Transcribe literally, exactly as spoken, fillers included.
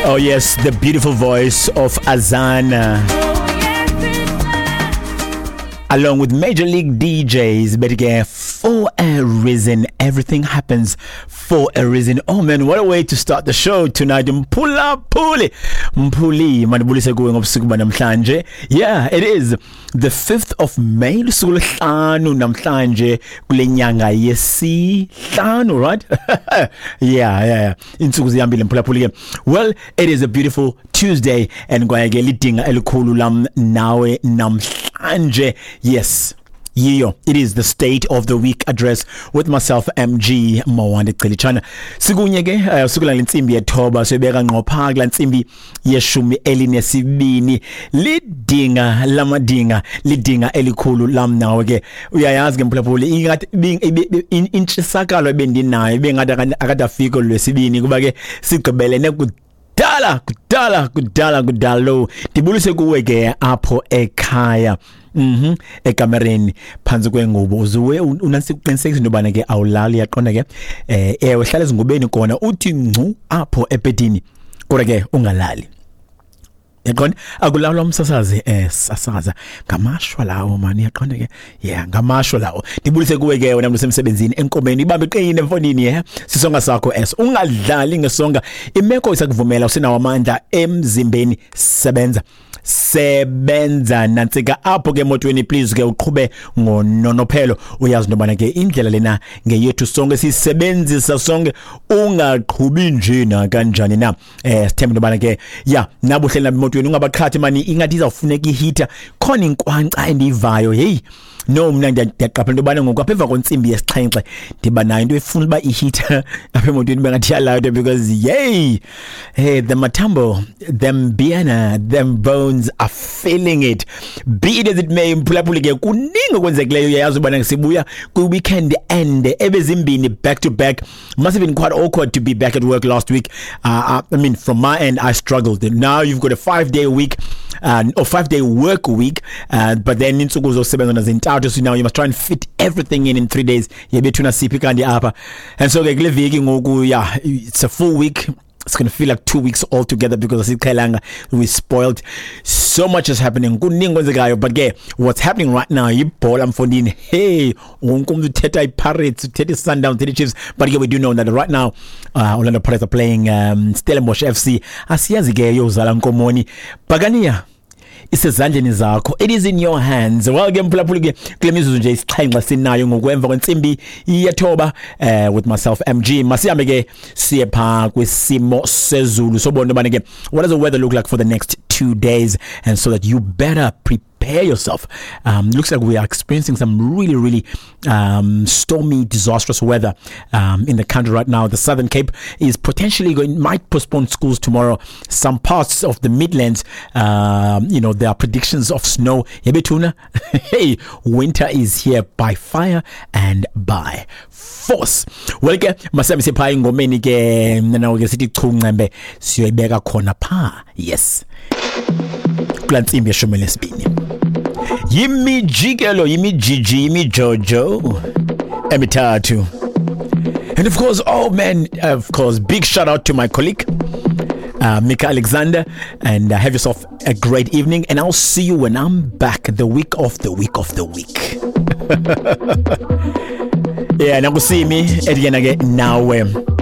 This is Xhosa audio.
Oh yes, the beautiful voice of Azana along with Major League D Js, but again, for a reason, everything happens for a reason. Oh man, what a way to start the show tonight. Mpula Puli, Mpuli, mandibulise kuwe ngobusuku banamhlanje. Yeah, it is the fifth of May, lusuku lwesihlanu namhlanje kule nyanga yesihlanu, right? Yeah, yeah, yeah. Insuku zihambile Mpula Puli ke. Well, it is a beautiful Tuesday and kwaye ke lidinga elikhulu lam nawe namhlanje. Yes, yiyo, it is the State of the Week address with myself, M G Mawande Celichana. Sikunye ke uh, sukula lentsimbi yethoba sibeka ngqo pha kula ntsimbi yeshumi elinesibini. Lidinga lamadinga, lidinga elikhulu lam nawe ke. Uyayazi ke mphulaphuli, ingathi intshisakalo ebendinayo bengathi akadafika lwesibini kuba ke sigqibelene kudala kudala kudala kudalo. Ndibulise kuwe ke apho ekhaya. Mhm ekamereni phansi kwengubo uzuwe unasiqinisekisa into bana ke awulali, yaqonda ke eh ewe hlala ezingubeni kona uthi ngcu apho ebedini kodwa ke ungalali, yaqonda akulalwa umsasazi eh sasaza ngamashwa lawo mani, yaqonda ke yeah ngamashwa lawo. Ndibulise kuwe ke wena msemsebenzini enkomeni, ibambe qine emfonini yeah sisonga sakho es ungadlali ngesonga, imeko isakuvumela usinawo amandla emzimbeni, sebenza sebenza nantsika apho ke emotweni, please ke uqhube ngononophelo. Uyazi nobana ke indlela lena ngeyethu sonke sisebenzisa sonke, ungaqhubi nje na kanjani na. Eh sithemba nobana ke yeah nabuhleli emotweni ungabaqhathi mani, ingathi izawufuneka iheater khona inkwanca endivayo. Hey no, mna ndiyaqaphela into yobana ngoku apha emva kwentsimbi yesixhenxe ndiba nayo into efuna uba iheater apha emotweni bengathi iyalayitwa because yay, hey, the matambo, them biana, them bones are feeling it. Be it as it may, mphulaphuli ke kuningi okwenzekileyo, uyayazi ubana sibuya kwi-weekend end ebezimbini back to back. Must have been quite awkward to be back at work last week. Uh, I mean, from my end, I struggled. Now you've got a five-day week uh, or five-day work week, uh, but then insuku zosebenza zintathu, so now you must try and fit everything in in three days. Yebethuna siphi kanti apha. And so ke kule veki ngoku, yeah, it's a full week. It's going to feel like two weeks altogether because asiqhelanga, we spoiled. So much is happening. Kuningi kwenzekayo, but ke what's happening right now ibhola mfondini. Hey, wonke umuntu uthetha iPirates, uthetha iSundowns, uthetha iChiefs, but ke we do know that right now uh, Orlando Pirates are playing um, Stellenbosch F C. Asiyazi ke yozala nkomoni. Bhakaniya isezandleni zakho, it is in your hands. Well ke mphulaphuli ke kule mizuzu nje isixhenxe sinayo ngokwemva kwentsimbi yethoba eh with myself M G. Masihambe ke siye pha kwisimo sezulu sobona ubana ke what does the weather look like for the next two days, and so that you better prepare yourself. Um, looks like we are experiencing some really, really um, stormy, disastrous weather um, in the country right now. The Southern Cape is potentially going, might postpone schools tomorrow. Some parts of the Midlands, um, you know, there are predictions of snow. Hey, winter is here by fire and by force. Well, ke masami sipha ingomeni ke mna ke sithi chungcembe siyoyibeka khona pha. Yes. Kula ntsimbi yeshumi lesibini. Yimijikelo, yimijiji, yimijojo emithathu. And of course, oh man, of course, big shout out to my colleague uh, Mika Alexander, and uh, have yourself a great evening, and I'll see you when I'm back the week of the week of the week. Yeah, nakusimi ediyena ke nawe.